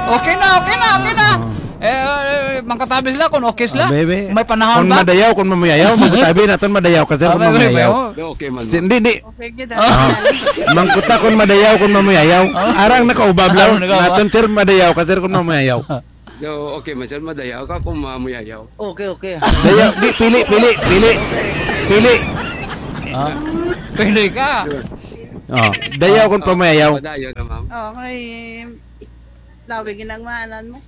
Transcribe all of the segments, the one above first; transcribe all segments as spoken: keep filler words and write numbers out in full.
Okay na, okay na, okay na. Eh, eh, mangkatabi sila kung okay sila. Ah, bebe. May panahon Kung ba? madayaw, kung mamuyayaw, magkatabi naton madayaw ka, sir, Ah, kung bebe, mamuyayaw. bebe. Okay man, Si, ma'am. Hindi, hindi. Okay, good. Ah, mangkuta kung madayaw, kung mamuyayaw. Ah. Arang nakaubab lang. Arang nakaubab. Naton, sir, madayaw ka, sir, kung mamuyayaw. Yo, okay man, sir, madayaw ka kung mamuyayaw. Okay, okay. Dayaw, di, pili, pili, pili. Pili. Ah, pili ka. Oh, dayaw kung Ah, pamayayaw. Madayaw na, ma'am. Okay. Labi ginagmaanan mo.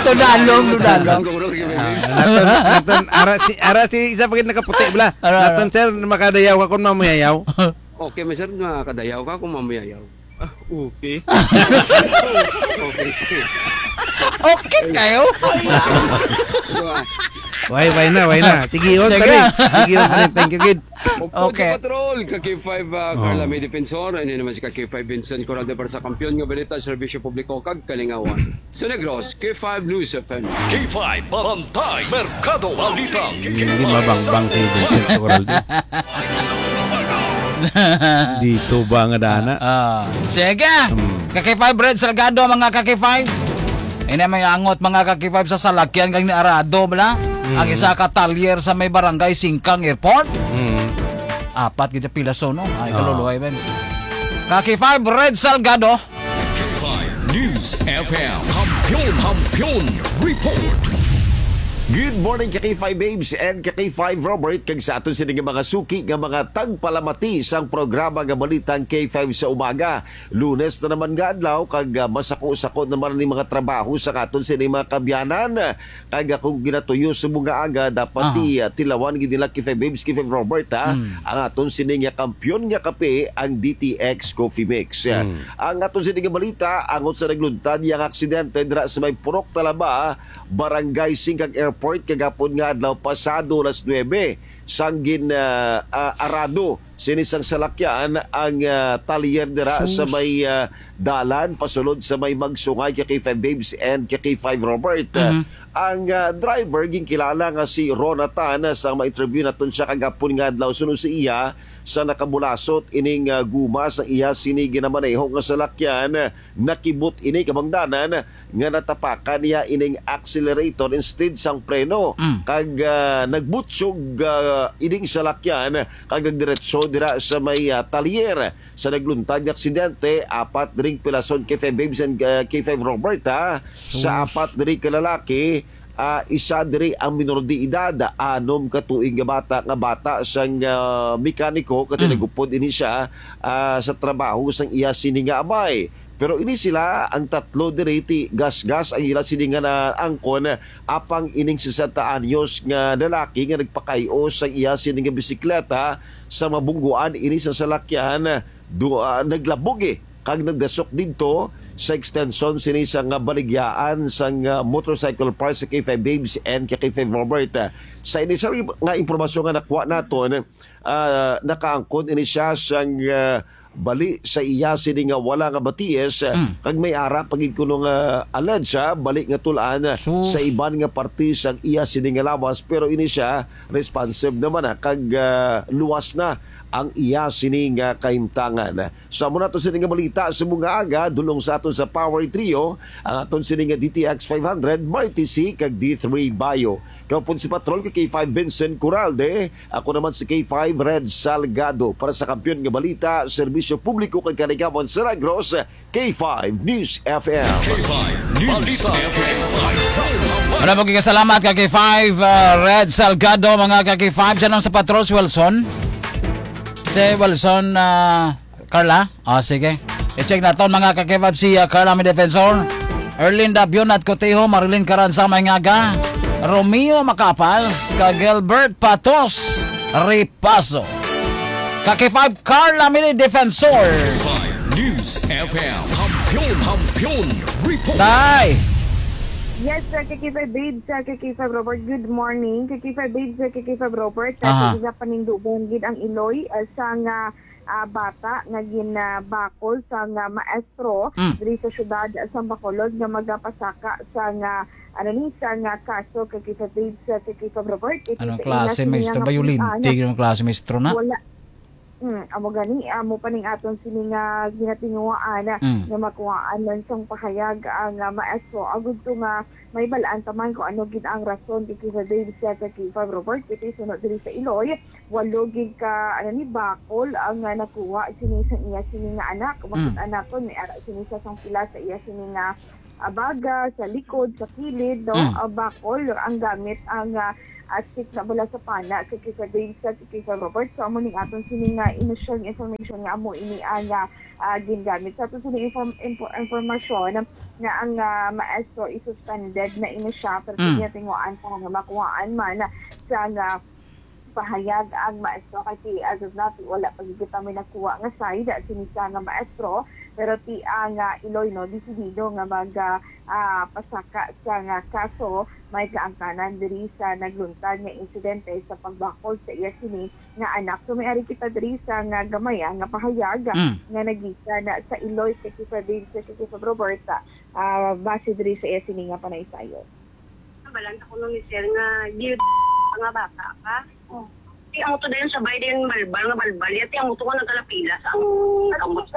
Tudalong, tudalong. Ah, naton, naton, ara si, ara si isa pa gid nakaputi, bla. Ara, ara. Naton, sir, makadayaw ka kung mamuyayaw. Okay, sir, makadayaw ka kung mamuyayaw. Ah, okay. Okay. Okay kayo? Why, why na, why na? Tigion, Sige. Tali. Tigion, tali. Thank you, kid. Upod Okay. sa patrol, ka K five, ah, Oh. Carla May Defensor, ini naman si ka K five Vincent Coralde para sa Kampiyon nga Balita, Serbisyo Publiko, kag Kalingawan. Sa Negros, K five News F M. K five, Barangay Merkado, Balita. Hindi mabangbang kay Vincent Coralde. Dito ba nga dana? Ah, sige. Hmm. Ka K five Red Salgado, mga ka K five. Ini may angot, mga ka K five, sa salakyan kag ni Arado, bala? Hmm. Ang isa ka talyer sa may barangay Singkang Airport. Hmm. Apat gid pila so, no? Ay, Ah. kaluluway, ben. Ka K five Red Salgado. K five News F M. Kampiyon, Kampiyon Report. Good morning, ka K five Babes and ka K five Robert, kag sa aton sini nga mga suki nga mga tagpalamati sang programa nga Balitang K five sa Umaga. Lunes na naman nga adlaw, kag, ah, masako-sako naman ni mga trabaho sa aton sini mga kabyanan. Kag akong ginatuyo sa mga aga, dapat Aha. ti, ah, tilawan gid nila K five Babes, K five Robert, ha? Mm. Ang aton sini nga kampiyon nga kape, ang D T X Coffee Mix. Mm. Ang aton sini nga balita, angot sa nagluntad yang aksidente dira sa may Purok Talaba, Barangay Singkang Airport, kagapon nga adlaw pasado alas nuebe, sang gin, ah, ah, arado sini sang salakyan ang, ah, talyer dira sa Sus. may, ah, dalan pasulod sa may Magsungay, ka K five Babes and ka K five Robert. Mhm. Ang, ah, driver ginkilala nga si Ronatan, ah, sa ma-interview naton siya kagapon nga adlaw, suno sa iya, sa nakabulasot ining, ah, guma sa iya sini ginamaneho nga salakyan, nakibot ini kabangdanan nga natapakan niya ining accelerator instead sang preno. Mm. Kag, ah, nagbutyog, ah, ining salakyan kag nagdiretso dira sa may, ah, talyer. Sa nagluntad nga aksidente, apat diri pilason, K five Babes and, ah, K five Robert, ha. Sa Sus. apat diri ka lalaki, ah, isa diri ang minor de edad, anom ka tuig nga bata, nga bata sang, ah, mekaniko, kag Mm. nagupod ini siya, ah, sa trabaho sang iya sini nga amay. Pero ini sila, ang tatlo diri, ti gasgas ang ila sini nga naangkon, apang ining sesenta anyos nga lalaki nga nagpakay-o sa iya sini nga bisikleta sa mabungguan ini sa salakyan, do, ah, naglabog, eh, kag nagdasok didto sa extension sini sa nga baligyaan sang, ah, motorcycle parts sa K five Babes and K five Robert. Sa initial nga impormasyon nga nakuha naton, ah, nakaangkon ini siya sang, ah, bali sa iya sini nga wala nga batis, ah, Mm. kag may ara pa gid kuno nga alleged, ah, bali nga tul-an, ah, Sus. sa iban nga parte sang iya sini nga lawas, pero ini siya responsive naman, ah, kag, ah, luwas na ang iya sini nga kahimtangan. Sa amo nato sini nga balita sa mga aga, dulong sa aton sa Power Trio, ang aton sini nga D T X five hundred, Mighty C, kag D three Bio. Kaupod si Patrol kay K five Vincent Coralde, ako naman si K five Red Salgado. Para sa Kampiyon nga Balita, Serbisyo Publiko kag Kaligawan sa Negros, K five News F M. K five News Balita. F M. Wala mo, kasalamat ka K five, uh, Red Salgado, mga ka K five. Diyan ang sa Patrol, si Wilson. Si Wilson, uh, Carla? O, sige. I-check naton, mga ka K five, si, ah, Carla May Defensor, Erlinda Bionat Cotejo, Marilyn Caranza Maingaga, Romeo Macapas, ka Gilbert Patos Ripaso. Ka K five, Carla May Defensor. K five News F M. Kampiyon, Kampiyon Report. Tay! Yes, sir. Ka K five Babes, sir. Ka K five Robert, good morning. Ka K five Babes, sir. Ka K five Robert, sir. Aha. Sa isa panindugan gid ang Iloy, ah, sa nga ah, bata nga ginabakol sang, ah, maestro Mm. diri sa siyudad sa Bacolod nga magapasaka sang, ah, ano ni, sang, ah, kaso kag case of rape sa kag case of Robert. Kay Anong sa ila klase sini nga maestro? Bayulente, napuy-an. Anong klase maestro na? Wala. Mm, amo gani, amo pa ning aton sini nga ginatinguhaan na Mm. nga makuhaan man sang pahayag ang, ah, maestro. Agud to nga may balaan ta man kung ano gid ang rason kay case of rape sa kag case of Robert. Kay sunod diri sa Iloy, walo gid ka, ano ni, bakol ang, ah, nakuha sini sa iya sini nga anak. Makit Mm. anakon, may ara sini sa sang pila sa iya sini nga, ah, baga, sa likod, sa kilid, no? Mm. Ah, bakol ang gamit ang, ah, ah, stick na bala sa pana sa kisa Dave sa kisa Robert. So, amo ning aton sini nga initial nga information nga amo ini ang, ah, ah, gingamit. Sa aton sini inform-, info-, informasyon nga ang, ah, maestro is suspended na ini siya, pero Mm. sige, tinguhaan pa nga makuhaan man sa nga pahayag ang maestro kay si as of now, wala pa gid kita may nakuha nga side sini sa nga maestro, pero ti ang, ah, Iloy, no, desidido nga mag, ah, ah, pasaka sa nga kaso may kaangtanan diri sa nagluntad nga insidente sa pagbakol sa iya sini nga anak. So may ari kita diri sa nga gamay, ah, nga pahayag Mm. nga nagikan sa Iloy kay Kisa Dave sa Kisa Roberta, ah, base diri sa iya sini nga panaysayon. Nabalaan ta kuno ni sir nga, di nga bata ka. Oh. Ti amo to dayon sabay din balbal nga balbal. Yati amo to nga nagkalapila sa ang kamot.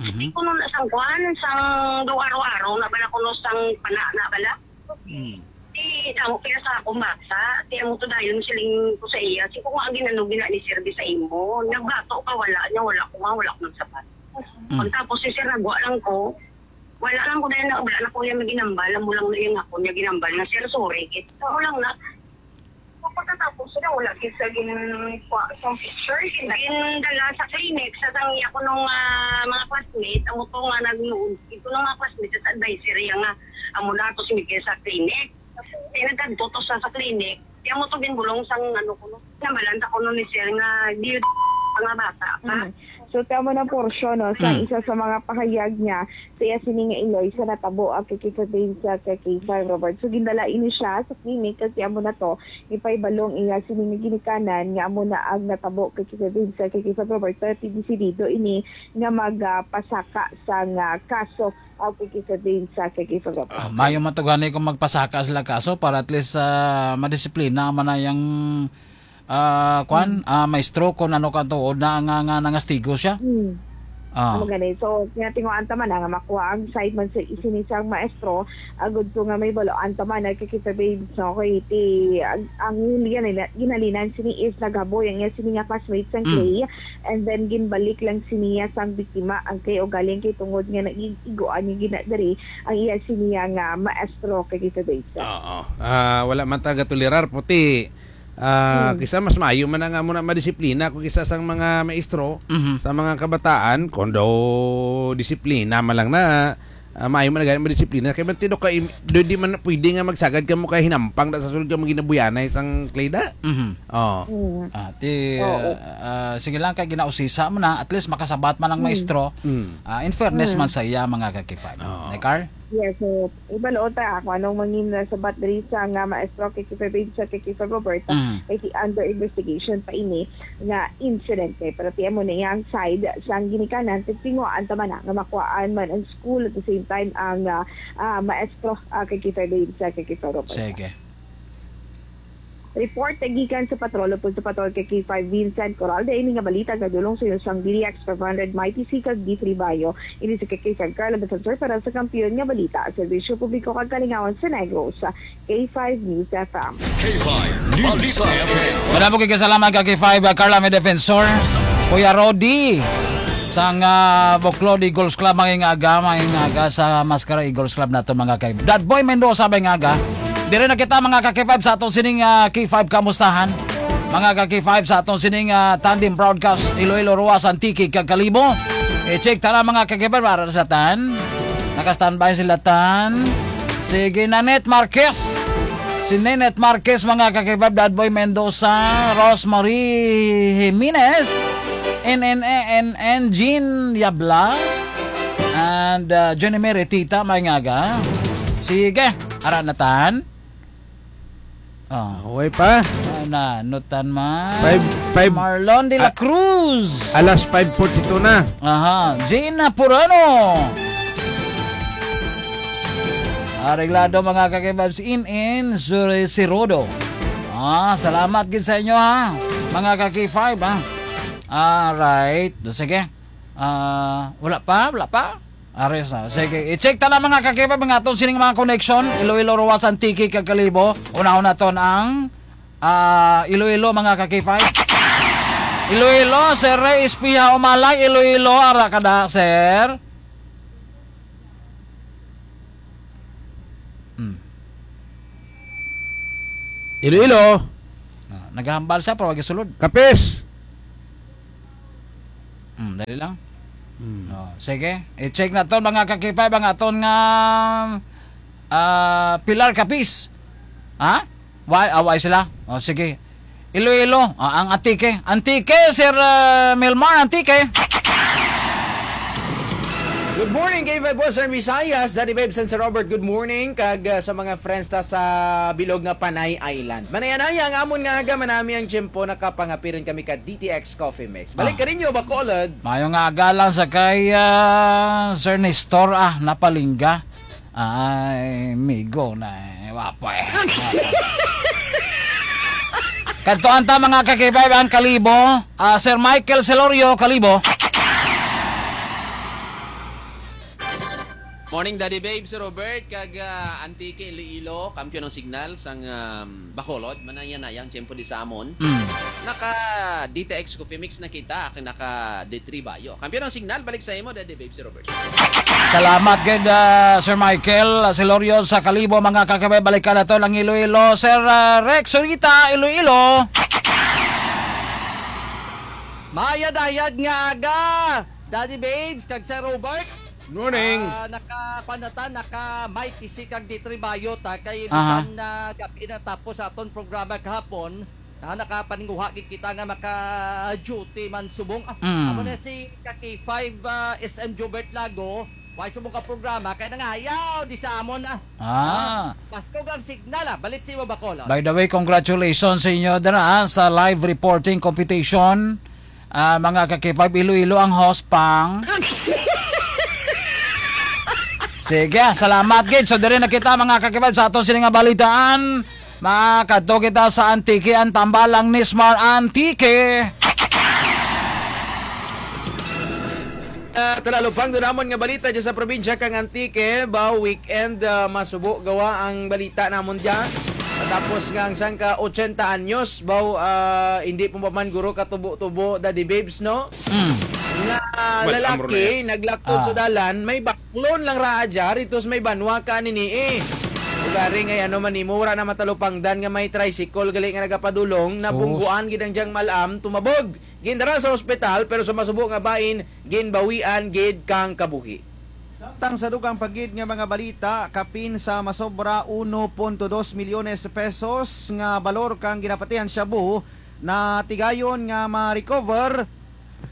Mhm. Kuno na sang kuan, sang do araw-araw na bala kuno sang pana na bala. Mm. Ti amo kaya sa akong bata, ti amo to dayon siling ko sa iya. Si ko nga ang ginano gina ni sir di sa imo. Nagbato ka, wala niya, wala ko nga, wala ko nagsabat. Mm. Pagtapos si sir, nagwa lang ko. Wala lang ko na yun, wala na ko yung ginambal. Amo lang na yung ako niya ginambal na, "Sir, sorry." Kit-, amo lang na. Pagkatapos na, wala gid sa gin-, kuha sa picture, gin-, gindala sa clinic, sa sang iya ko nung, ah, mga classmate, amo to nga nagluod. Ito nung mga classmate, sa advisory, nga amo na to si Miguel sa clinic. Kaya nagkadto to sa, sa clinic. Kaya mo to ginbulong sang ano ko, no? Nabalaan ta ko, no, ni sir nga, di nga bata pa. Mm. So, tama na porsyon, no, sa Mm. isa sa mga pahayag niya, sa iya sini nga Iloy sa natabo ang kay Kisa Dave sa kay Kisa Robert. So, gindala ini siya sa clinic kasi amo na to, ipaibalong iya sini nga ginikanan nga amo na ang natabo kay Kisa Dave sa kay Kisa Robert. Pero ti desidido ini nga magpasaka sa nga kaso ang kay Kisa Dave sa kay Kisa Robert. Ah, mayo man to gani kung magpasaka sila kaso para at least, ah, madisiplina man na yang, ah, kwan, Hmm. ah, maestro kung ano ka tuod na nga, nga nangastigo siya. Hmm. Ah. Amo gani. So, kaya tinguhaan ta man na nga makuha ang side man sa isini sang maestro, agud to nga may balaan ta man na kay Kisa Dave, no, kay ti, ang, ang ginali-, ginalinan sini is naghaboy ang iya sini nga classmate sang Mm. Clay, and then ginbalik lang siniya sang biktima ang Clay, ugaling kay tungod nga nag-ig-, iguan niya gina diri ang iya siniya nga maestro kay Kisa Dave. Oo. Ah, wala man ta gatolerar, puti. Ah, Hmm. kisa mas maayo man na nga mo na madisiplina kung kisa sang mga maestro, Mhm. sa mga kabataan, kung daw disiplina man lang na, ah, maayo man na gani madisiplina. Kay man tido ka, im-, do, di man pwede nga magsagad ka mo kay hinampang da sa sulod ka mo ginabuyanay sang Clay da. Mhm. Oh. Hmm. Ah, ti, Oo. ah, sige lang kay ginausisa mo na, at least makasabat man ang Hmm. maestro. Hmm. Ah, in fairness Hmm. man sa iya, mga kakifan. Oo. Nay Carl? Yes, so, ibaluon ta kung anong mangin na sabat diri sa nga maestro kay Kisa Dave sa kay Kisa Roberta, Mm. kay si under investigation pa ini nga insidente. Pero ti amo na iyang side sang ginikanan, kay tinguhaan ta man na nga makuhaan man ang school at the same time ang, ah, ah, maestro, ah, kay Kisa Dave sa kay Kisa Roberta. Sige. Report gikan sa patrol upod sa patrol kay K five Vincent Coralde. Ini nga balita nga dulong sa inyo sang D D X five hundred Mighty C kag D three Bayo. Ini si K five Carla Defensor para sa Kampiyon nga Balita, Serbisyo Publiko kag Kalingawan sa Negros, K five News F M. K five News F M. Madamo kay kasalamat ka K five, ah, Carla, may Defensor. Kuya Rodi, sang, ah, Buklo, Eagles Club, mga ingaga, mga ingaga sa Maskara Eagles Club nato, mga kay Dad Boy Mendoza, mga ingaga. Dire na kita, mga ka-K five, sa atong sining, ah, K five Kamustahan. Mga ka-K five, sa atong sining, ah, Tandem Broadcast, Iloilo, Roxas, Antique, kag Kalibo. I-check tana, mga ka-K five, para sa tan. Naka-standby sila tan. Sige, Nanette Marquez. Si Nanette Marquez, mga ka-K five, Dad Boy Mendoza, Rosemary Jimenez, N N A N N, Jean Yabla, and, uh, Jenny Mary Tita, may ngaga. Sige, ara na tan. Ah. Okay pa? Ah, nanutan man. Five, five. Marlon de la Ah. Cruz. Alas five forty-two na. Aha. Gina Purano. Areglado, mga ka-K five, in, in, si, si Rodo. Ah, salamat gid sa inyo, ha, mga ka-K five, ha. Alright. Sige. Ah, wala pa, wala pa. Ares na. Sige, i-check ta lang, mga ka-K five, mga aton sining mga connection. Iloilo, Roxas, Antique, kag Kalibo. Unahon naton ang, ah, Iloilo, mga ka-K five. Iloilo, Sir Ray Espiha Umalay, Iloilo, ara ka da, sir? Hmm. Iloilo. Ah, naghahambal siya, pero wag sulod. Kapis. Hmm, dali lang. Hmm. Oh, sige. I-check naton, mga ka-K five, ang aton nga, ah, Pilar Capiz. Ha? Why? Ah, why sila? Oh, sige. Iloilo, ah, ang Antique. Antique, Sir, ah, Milmar, Antique. Good morning, K five Boss, Sir Visayas, Daddy Babes, and Sir Robert, good morning. Kag, ah, sa mga friends ta sa bilog nga Panay Island. Manaya-naya ang amon nga aga, manami ang tiyempo, nakapangapirin kami ka D T X Coffee Mix. Balik Ah. ka ninyo, Bacolod. Mayo nga aga lang sa kay, ah, Sir Nestor, ah, Napalingga. Ay, migo na, eh. Wapo, eh. Kadtuan ta, mga ka-K five, ang Kalibo. Ah, Sir Michael Celorio, Kalibo. Morning, Daddy Babe, Sir Robert, kag, ah, Antique, Iloilo, kampiyon ng signal sang, um, Bacolod, manaya-naya ang tiyempo di sa amon. Mm. Naka D T X Coffee Mix na kita, akin naka D three Bayo. Kampiyon ng signal, balik sa imo, Daddy Babe, Sir Robert. Salamat gid, ah, Sir Michael, ah, Celorio sa Kalibo, mga ka-K five, balikan naton ang Iloilo. Sir, ah, Rex Zurita, Iloilo. Mayad-ayad nga aga, Daddy Babes, kag Sir Robert. Morning. Ah, naka, kuwan na ta, naka may P C kag D three Bayo ta, kay Aha. bisan na gabi na tapos sa aton programa kahapon, ah, nakapaninguha gid kita nga maka-duty man subong. Ah, Mm. amo na si ka K five, ah, S M Jobert Lago, why subong ka programa, kay nangayaw di sa amon, ah. Ah. Ah, paskog ang signal, ah. Balik sa imo, Bacolod. By the way, congratulations sa inyo dira, ah, sa live reporting competition. Ah, mga ka-K five, Iloilo ang host, pang. Sige, salamat gid. So, diri na kita, mga ka-K five, sa aton sini nga balitaan. Makadto kita sa Antique, ang tambalang Nismar Antique. Ah, talalupang do namon nga balita dyan sa probinsya kang Antique, ba, weekend, ah, masubo gawa ang balita namon dyan. Tapos nga ang sangka ochenta anyos, ba, ah, hindi po pa man guro katubo-tubo, Daddy Babes, no? Mm. Nga Well, lalaki, amro na yan. naglaktod Ah. sa dalan, may baklon lang raa dyan, itos may banwa ka nini, eh. Ugari nga, ano man nimo, wala na matalupangdan nga may tricycle, gali nga nagapadulong, Sus. nabungguan gid ang diyang malam, tumabog. Gindara sa ospital, pero sa masubo nga bahin, ginbawian gid kang kabuhi. Samtang sa dugang pa gid nga mga balita, kapin sa masobra uno punto dos milyones pesos nga balor kang ginapatihan shabu na tigayon nga ma-recover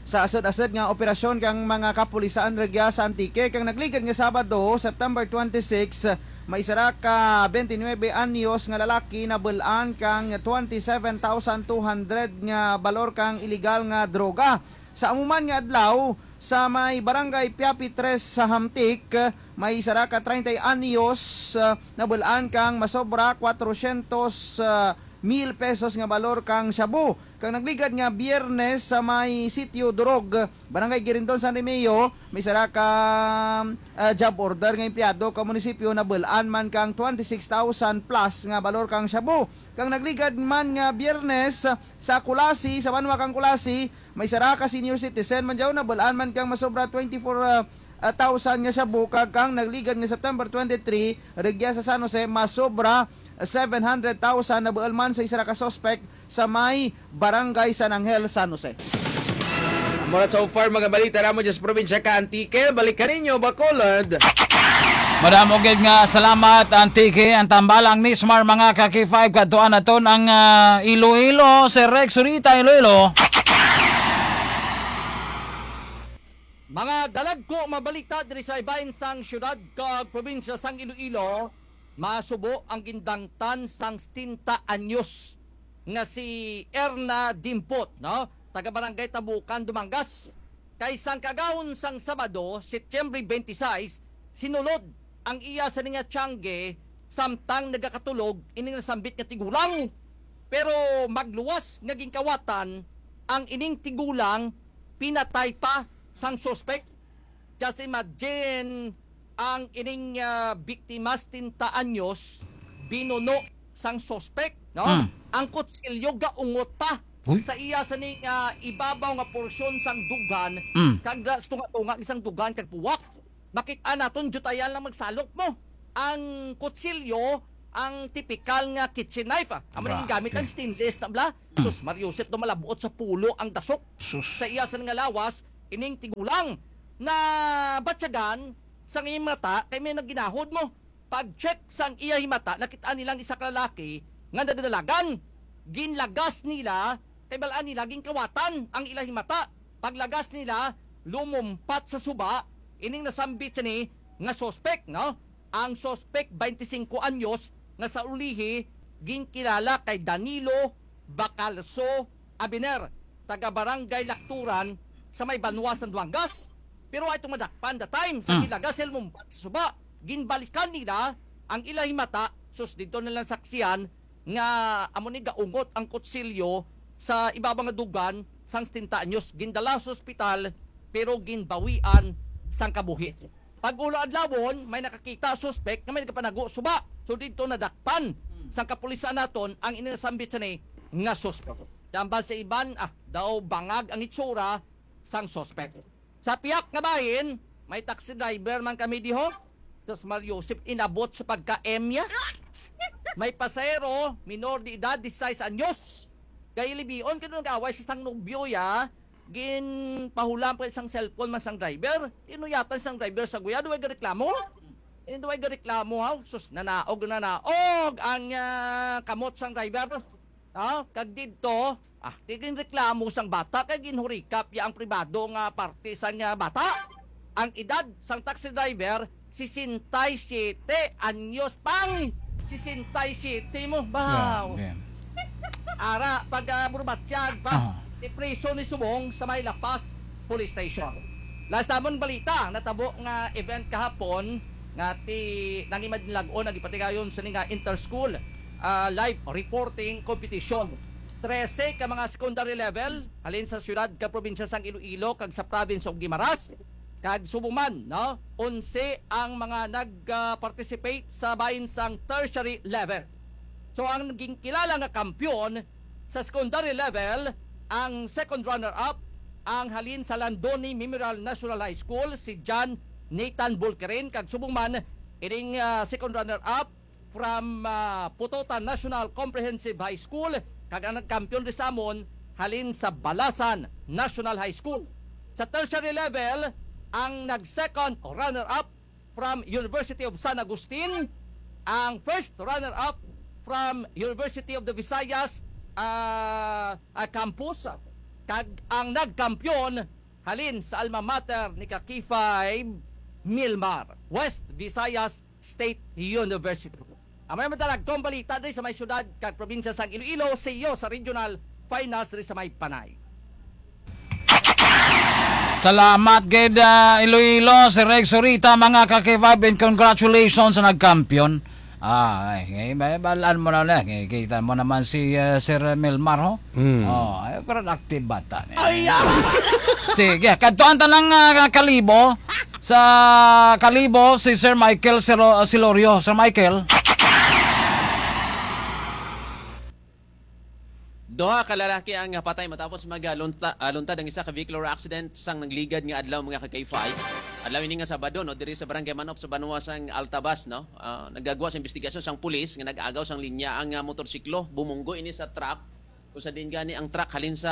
sa asad-asad nga operasyon kang mga kapulisan rugya sa Antique kang nagligad nga Sabado, September twenty-six, may isa ra ka twenty-nine anyos nga lalaki nabul-an kang twenty-seven thousand two hundred nga balor kang iligal nga droga. Sa amo man nga adlaw, sa may Barangay Piapi tres sa Hamtic, may isa ra ka treinta anyos, ah, nabul-an kang masobra kwatrosyentos, ah, mil pesos nga balor kang shabu. Kang nagligad nga Biyernes sa may Sitio Durog, Barangay Girindon, San Remigio, may isa ra ka, ah, job order nga empleyado ka munisipyo nabul-an man kang twenty-six thousand plus nga balor kang shabu. Kang nagligad man nga Biyernes sa Culasi, sa banwa kang Culasi, may isa ra ka senior citizen man daw nabul-an man kang masobra twenty-four, ah, ah, thousand nga shabu, kag kang nagligad nga September twenty-three, rugya sa San Jose, masobra seven hundred thousand nabul-an man sa isa ra ka suspect sa may Barangay San Angel, San Jose. Mura so far, mga balita namo dyan sa probinsya ka Antique. Balik ka ninyo, Bacolod. Madamo gid nga salamat, Antique. Ang tambalang Nismar, mga ka-K five, kadtuan naton ang, ah, Iloilo, Sir Rex Zurita, Iloilo. Mga dalagko mabalita diri sa ibahin sang syudad kag probinsya sang Iloilo, masubo ang gindangtan sang setenta anyos nga si Erna Dimpot, no? Taga Barangay Tabukan, Dumangas. Kay sang kaagahon sang Sabado, Setyembre twenty-six, sinulod ang iya sa nga tiyangge samtang nagakatulog ining nasambit nga tigulang. Pero magluwas nga ginkawatan ang ining tigulang, pinatay pa sang suspek. Just imagine, ang ining, ah, biktima, setenta anyos, binuno sang suspek, no? Mm. Ang kutsilyo gaungot pa Uy. sa iya sa ning, ah, ibabaw nga porsyon sang dughan, Mm. kag da-, tunga-tunga sang dughan kag puwak. Makit-an naton, diutayan lang magsalok mo. Ang kutsilyo, ang tipikal nga kitchen knife, ah. Amo na ang gamit, ang Grabe. stainless na bala. Mm. Sus, Mario Joseph, do malabuot sa pulo ang dasok. Sus. Sa iya sa nga lawas, ining tigulang na batyagan sang iyang mata kay may nagginahod mo. Pag-check sang iya himata, nakit-an nilang isa ka lalaki nga nagdalagan. Ginlagas nila, kay bal-an nila ginkawatan ang ila himata. Paglagas nila, lumumpat sa suba ining nasambit sini nga suspek, no? Ang suspek, twenty-cinco anyos, nga sa ulihi ginkilala kay Danilo Bacalso Abiner, taga Barangay Lacturan sa may banwa sang Duangas. Pero ay itong madakpan the time sa Mm. gilagas sa lumumpat sa suba. Ginbalikan nila ang ila himata, sus, didto na lang saksihan nga amo ni gaungot ang kutsilyo sa ibabaw nga dughan sang setenta anyos. Gindala sa ospital, pero ginbawian sang kabuhi. Pag-ulo adlawon, may nakakita suspek nga may nagapanago suba. So didto nadakpan Mm. sang kapulisan naton ang ining nasambit sini nga suspek. Tambal sa iban, ah, daw bangag ang itsura sang suspek. Sa piyak nga bahin, may taxi driver man kami diho. Sus, Mario Joseph, inabot sa pagka-M niya. May pasahero, minor de edad, disisais anyos. Kay libion, kay nag-away sa sang nobyo ya, ginpahulam pa sang cellphone man sang driver. Tinuyatan sang driver sa guya, duway gareklamo. Hindi duway gareklamo, ha? Sus, nanaog, nanaog ang, ah, kamot sang driver. Ah, kag didto, ah, di ginreklamo sang bata kay ginhurikap ya ang pribado nga parte sang, ah, bata. Ang edad sang taxi driver, sesenta y siete anyos pang. Sesenta y siete mo, baw. Grabe. Ara, pag, ah, burbatyag pa, Aha. ipriso ni subong sa may La Paz Police Station. Last namon balita, natabo nga event kahapon nga ti nangimadlag-on ang gipatigayon sa nga inter-school, ah, live reporting competition. Trese ka mga secondary level halin sa siyudad ka probinsya sang Iloilo kag sa province of Guimaras kag Subuman, no? Onse ang mga nag, ah, participate sa bahin sang tertiary level. So ang ginkilala nga kampiyon sa secondary level, ang second runner-up ang halin sa Landoni Memorial National High School, si John Nathan Bulkirin, kag subong man ining, ah, second runner-up from, ah, Putotan National Comprehensive High School, kag ang nagkampiyon ri sa amon halin sa Balasan National High School. Sa tertiary level, ang nag-second runner-up from University of San Agustin, ang first runner-up from University of the Visayas, ah, ah, Campus, kag ang nagkampiyon halin sa alma mater ni ka K five, Milmar, West Visayas State University. Amo na ang madalagkong balita diri sa may siyudad kag probinsya sang Iloilo, see you sa regional finals diri sa may Panay. Salamat gid, ah, Iloilo, Sir Rex Orita, mga ka-K five, and congratulations sa nagkampiyon. Ah, ay, ay, may balaan mo na na. Kita mo naman si, ah, Sir Milmar, ho? Mm. Oh, ay, productive bata niya. Ay, ah! Sige, kadtuan ta lang, ah, Kalibo. Sa Kalibo, si Sir Michael Silo-, Silorio. Sir Michael. Duha ka lalaki ang patay matapos magalunta-, ah, luntad ang isa ka vehicular accident sang nagligad nga adlaw, mga ka-K five. Adlaw ini nga Sabado, no, diri sa Barangay Manop sa banwa sang Altabas, no. Ah, nagagwa sang investigasyon sang pulis nga nag-agaw sang linya ang, ah, motorsiklo. Bumunggo ini sa truck, kung sa diin gani ang truck halin sa,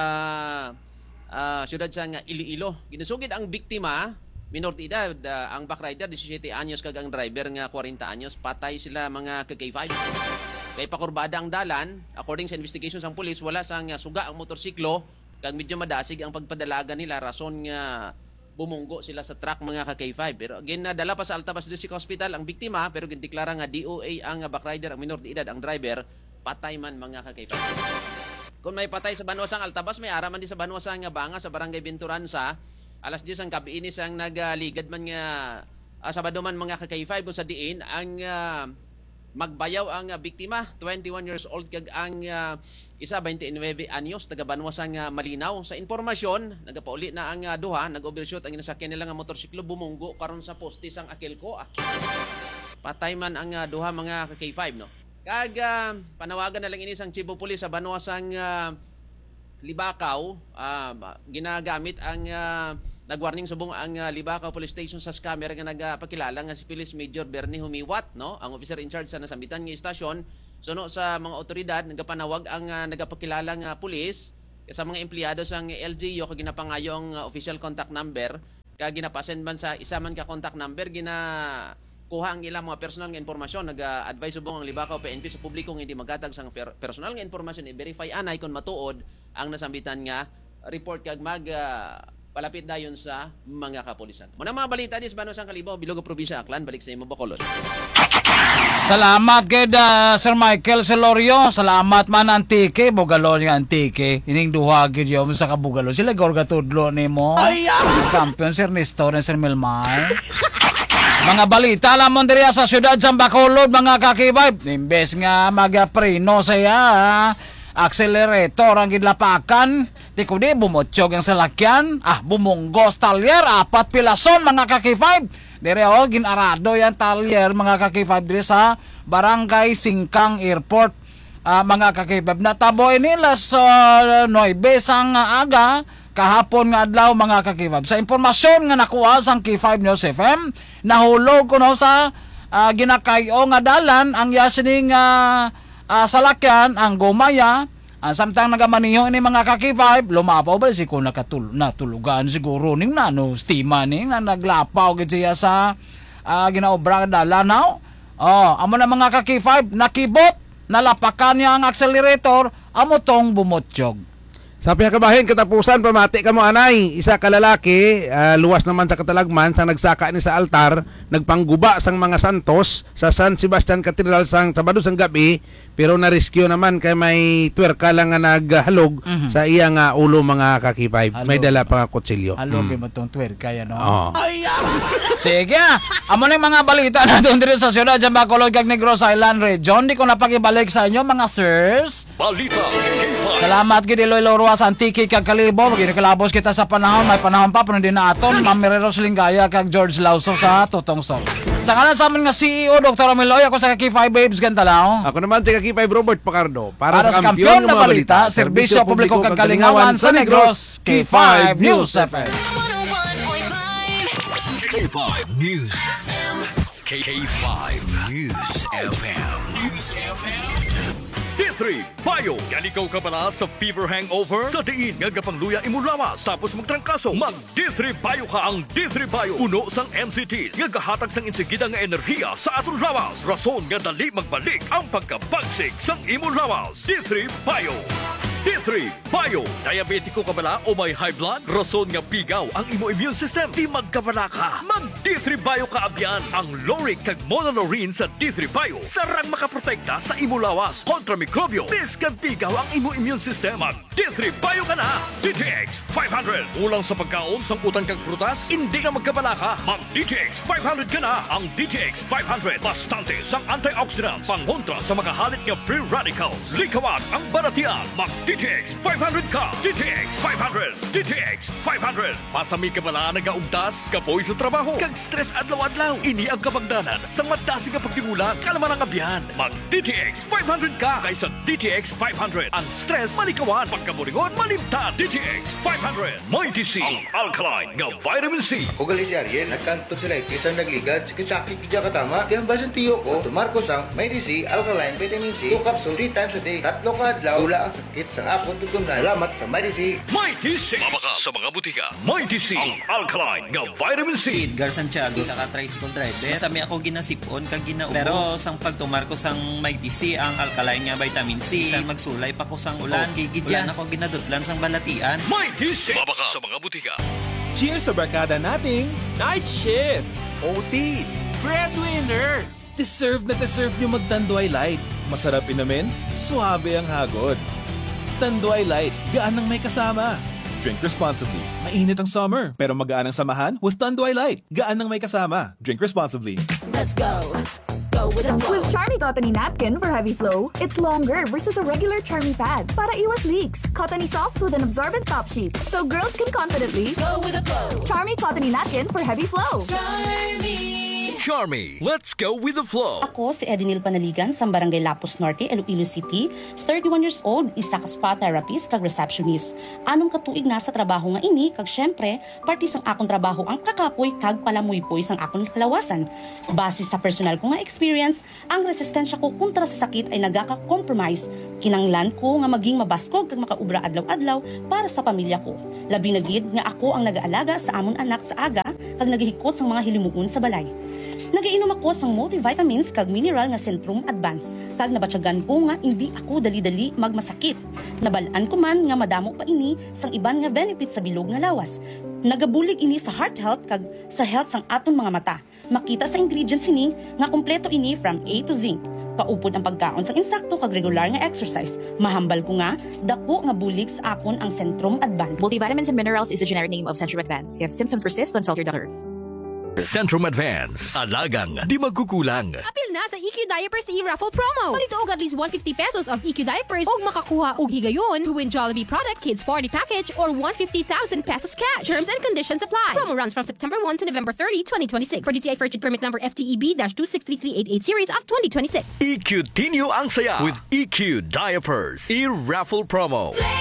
ah, siyudad sang Iloilo. Ginasugid ang biktima, minor de edad, ah, ang back rider, disisiete anyos, kag ang driver nga kwarenta anyos. Patay sila, mga ka-K five. Kay pakurbada ang dalan, according sa investigation sang pulis, wala sang, ah, suga ang motorsiklo, kag medyo madasig ang pagpadalagan nila, rason nga bumunggo sila sa truck, mga ka-K five. Pero ginadala pa sa Altabas District Hospital ang biktima, pero gindeklara nga D O A ang, ah, back rider, ang minor de edad ang driver, patay man, mga ka-K five. Kung may patay sa banwa sang Altabas, may ara man di sa banwa sang Banga, sa Barangay Binturansa. Alas diyes ang gabi ini sang nagaligad man nga, ah, Sabado man, mga ka-K five, kung sa diin ang, ah, magbayaw ang, ah, biktima, twenty-one years old, kag ang, ah, isa, twenty-nine anyos, taga banwa sang, ah, Malinaw. Sa impormasyon, nagapauli na ang, ah, duha, nag-overshoot ang ginasakyan nila nga motorsiklo, bumunggo karon sa poste sang Aquilco, ah. Patay man ang, ah, duha, mga ka-K five, no? Kag, ah, panawagan na lang ini sang Chief of Police sa banwa sang, ah, Libacao, ah, ma-, ginagamit ang, ah, nagwarning subong ang, ah, Libacao Police Station sa scammer nga nagapakilala nga si Police Major Bernie Humiwat, no? Ang officer in charge sa nasambitan nga istasyon, suno sa mga otoridad, nagapanawag ang, ah, nagapakilala nga pulis sa mga empleyado sang L G U kag ginapangayo ang, ah, official contact number. Kag ginapasend man sa isa man ka contact number, ginakuha ang ilang mga personal nga impormasyon. Nag-a-advise subong ang Libacao P N P sa publiko nga hindi maghatag sang per-, personal nga impormasyon. I-verify anay kung matuod ang nasambitan nga report kag mag, ah, palapit dayon sa mga kapulisan. Muna mga balita dis, Bano sang Kalibo, Bilog, Probinsya Aklan, balik sa imo, Bacolod. Salamat gid, ah, Sir Michael Celorio. Salamat man, Antique. Bugalon nga Antique. Ining duha gid yun sa kabugalon. Sila gor gatudlo nimo. Ay, ah! Ang kampiyon, Sir Nestor and Sir Milmar. Mga balita lamang diri sa siyudad sa Bacolod, mga ka-K five. Imbes nga magapreno siya, accelerator ang gidlapakan. Ti kundi bumutyog ang salakyan. Ah, bumunggos talyer. Apat pilason, mga ka-K five. Dire, oh, ginarado yan talyer, mga ka-K five, dire sa Barangay Singkang Airport, ah, mga ka-K five. Natabo ini las, ah, nuebe sang aga, kahapon nga adlaw, mga ka-K five. Sa impormasyon nga nakuha sang K five News F M, nahulog kuno sa, ah, ginakay-o nga dalan ang iya sining, ah, ah, salakyan, ang gumaya, ah, samtang nagamaneho ini, mga ka-K five, lumapaw ba si ko nakatul-, natulugan siguro ning nano stima ni nga naglapaw gid siya sa, ah, ginaobra nga dalan, no? Oh, amo na, mga ka-K five, nakibot, nalapakan niya ang accelerator, amo tong bumutyog. Sa pihak kabahin, katapusan, pamati kamo anay. Isa ka lalaki, ah, luwas naman sa katalagman, sa nagsaka ni sa altar, nagpangguba sang mga santos sa San Sebastian Cathedral sang Sabado sang gabi, pero na-rescue naman kay may twerka lang nga naghalog Mhm. sa iya nga ulo, mga ka-K five. May Halog. dala pa nga kutsilyo. Halog Mm. mo tong twerka yan, no? Oo. Ay, ah! Sige, ah. Amo na yung mga balita natin dito sa siyudad sa Bacolod kag Negros Island Region. Di ko na pag-ibalik sa inyo, mga sirs. Balita K five. Salamat gid, Iloilo, Roxas, Antique kag Kalibo. Magkalabosan kita sa panahon. May panahon pa, pero hindi na aton. Ma'am Mireros Lingaya kag George Lauso sa Tutong Sol. Sa ngalan sa amin nga C E O, Doktor Romel Oy, ako sa K five Babes Gantalaw. Ako naman si K five Robert Pacardo. Para Para sa sa kampiyon kampiyon nga nga mga balita, balita, serbisyo serbisyo publiko publiko kag kag kalingawan kalingawan sa sa Negros, Negros, K five News K five F M. K five News. K five News F M. News F M. D three Bio. Yan ikaw kabala sa fever hangover? Sa diin nga gapangluya imo lawas tapos magtrangkaso, mag D three Bio ka. Ang D three Bio puno sang M C Ts nga gahatag sang insigida nga enerhiya sa aton lawas, rason nga dali magbalik ang pagkabagsik sang imo lawas. D three Bio. D three Bio. Diabetiko ka bala o may high blood? Rason nga pigaw ang imo immune system. Di magkabala ka. Mag D three Bio ka abyan. Ang lauric kag monolaurin sa D three Bio sarang makaprotekta sa imo lawas kontra mikrobyo. Bisan pigaw ang imo immune system, mag D three Bio ka na. D T X five hundred. Kulang sa pagkaon, sangkutan kag prutas? Hindi na magkabala ka. Mag D T X five hundred ka na. Ang D T X five hundred, bastante sang antioxidants, pangontra sa mga halit nga free radicals. Likawan ang balatian. Mag D T X five hundred ka. D T X five hundred. D T X five hundred. Masami ka bala nagaugtas, kapoy sa trabaho, kag stress adlaw-adlaw? Ini ang kabangdanan sa madasig nga pagtibulan. Kalma lang, abyan. Mag D T X five hundred ka. Kay sa D T X five hundred, ang stress malikawan, pagkaburingon malimtan. D T X five hundred. Mighty C, ang alkaline nga vitamin C. Ako gali si Ariel, nagkanto sila itis ang nagligad, sakit-sakit gid ka tama. Di ang basin tiyo ko, tumar ko sang Mighty C, alkaline vitamin C, two capsule, three times a day. Tatlo ka adlaw, wala ang sakit sang akon tutundan. Salamat sa Mighty C. Mighty C. Mabakal sa mga butika. Mighty C, ang alkaline nga vitamin C. Si Edgar Santiago, isa ka tricycle driver. Masami ako ginasipon kag ginaubos. Pero sang pagtumar ko sang Mighty C, ang alkaline nga vitamin C, bisan magsulay pa ko sang ulan, okay gid yan. Wala na ko ginadutlan sang balatian. Mighty C. Mabakal sa mga butika. Cheers sa barkada nating Night shift! O T! Breadwinner! Deserve na deserve nyo mag Tanduay Light. Masarap inumin, suabe ang hagod. Tanduay Light, gaan nang may kasama. Drink responsibly. Mainit ang summer, pero magaan ang samahan with Tanduay Light. Gaan nang may kasama. Drink responsibly. Let's go. Go with the flow. With Charmy Cottony Napkin for heavy flow, it's longer versus a regular Charmy pad para iwas leaks. Cottony soft with an absorbent top sheet, so girls can confidently Go with the flow. Charmy Cottony Napkin for heavy flow. Charmy, let's go with the flow. Ako si Edinil Panaligan sa Barangay Lapus Norte, Iloilo City, thirty-one years old, isa ka spa therapist kag receptionist. Anom ka tuig na sa trabaho nga ini kag syempre, parte sang akon trabaho ang kakapoy kag palamuypoy sang akon kalawasan. Base sa personal ko nga experience, ang resistensya ko kontra sa sakit ay nagaka-compromise. Kinanglan ko nga maging mabaskog kag makaubra adlaw-adlaw para sa pamilya ko. Labi na gid nga ako ang nagaalaga sa amon anak sa aga kag nagahikot sang mga hilimuon sa balay. Nagainom ako sang multivitamins kag mineral nga Centrum Advance, kag nabatyagan ko nga indi ako dali-dali magmasakit. Nabal-an ko man nga madamo pa ini sang iban nga benefits sa bilog nga lawas. Nagabulig ini sa heart health kag sa health sang aton mga mata. Makita sa ingredients sini nga kompleto ini from A to Z. Paupod ang pagkaon sang insakto kag regular nga exercise. Mahambal ko nga dako nga bulig sa akon ang Centrum Advance. Multivitamins and minerals is the generic name of Centrum Advance. If symptoms persist, consult your doctor. Centrum Advance. Alagang di magkukulang. Apil na sa E Q Diapers e-raffle promo. Palituog at least one fifty pesos of E Q diapers ug makakuha og higayon to win Jollibee product, kids party package, or one fifty thousand pesos cash. Terms and conditions apply. Promo runs from September one to November thirty, twenty twenty-six. For D T I First Aid Permit number F T E B dash two six three three eight eight series of twenty twenty-six. E Q Tinyo ang saya with E Q Diapers. E-raffle promo.